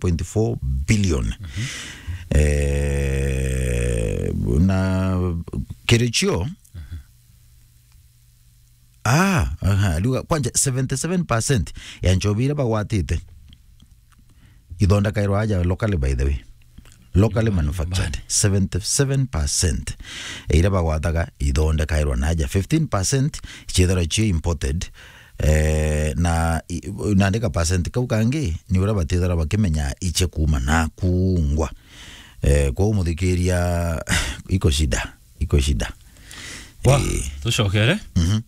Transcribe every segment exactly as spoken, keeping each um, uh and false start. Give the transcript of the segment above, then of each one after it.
point four billion. Eh, na kirichio, ah, aha, riuga kwanja seventy-seven percent ya nchobi iria bagwatite ithondekairwa aja locally, by the way. Locally manufactured, seventy-seven percent ya iria bagwataga ithondekairwa na aja, fifteen percent ciithirwa cio imported. Eh, na i-, nandi ka percent kau kangi ni uria batithirwa bakimenya iche kuuma na kungwa. Eh, kwou muthikiria, iko shida, iko shida. Wa, eh, tucokere. Mhm.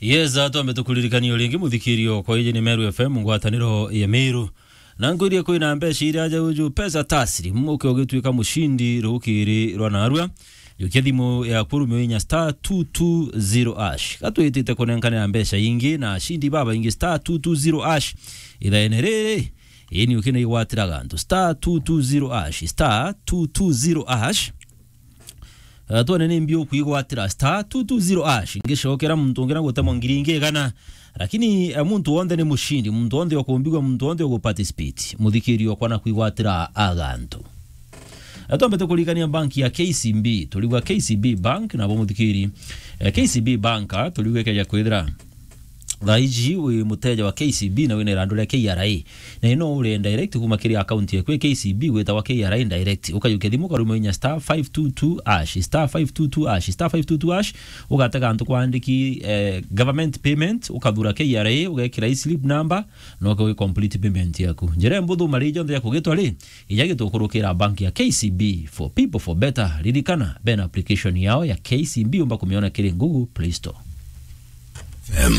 Yes, atwambe tukuririkanie o ringi muthikirio kwa iji ni Meru F M, ngwataniro ya Meru. Na nkwirie kwina mbeca iria aja uju, pesa taslim, uke ugituika mucindi rukiri rwa narua. Jukia thimu yaku, rumio inya star two two zero hash. Gatwitite kunenkanira mbeca ingi na acindi babaingi star two two zero hash. Ithaene riri, ini ukina igwatiraga antu star two two zero hash, star two two zero hash. Eh, twone ni mbi ukwigwatira star two two zero hash. Ngicokera muntu ungi na gutemwa ngiri ingi igana. Lakini, eh, muntu wonthe ni mucindi, muntu wonthe ukumbigwa, muntu wonthe ugu participate. Muthikiri okwa na kwigwatira agantu. Eh, twambe tukuririkania bank ya K C B, turigwa K C B Bank, nabo muthikiri, eh, K C B Bank, ah, turigwa ikeja kwithira thaa iji wi muteja wa K C B na wina irandu ria K R A. Na ino ure direct kuma kiri account yaku ya K C B gwitawa K R A direct. Ukajukia thimu ukaruma inya star five two two hash, star five two two hash, star five two two hash, ugatega antu kwandiki, eh, government payment, ukathura K R A, ugekira e-slip number, na uke wi complete payment yaku. Njira mbuthu mari jonthe ya kugitwa ri, ija gitukurukira bank ya K C B, for people, for better. Ririkana, bena application yao ya K C B umba kumiona kiri Google Play Store. F M.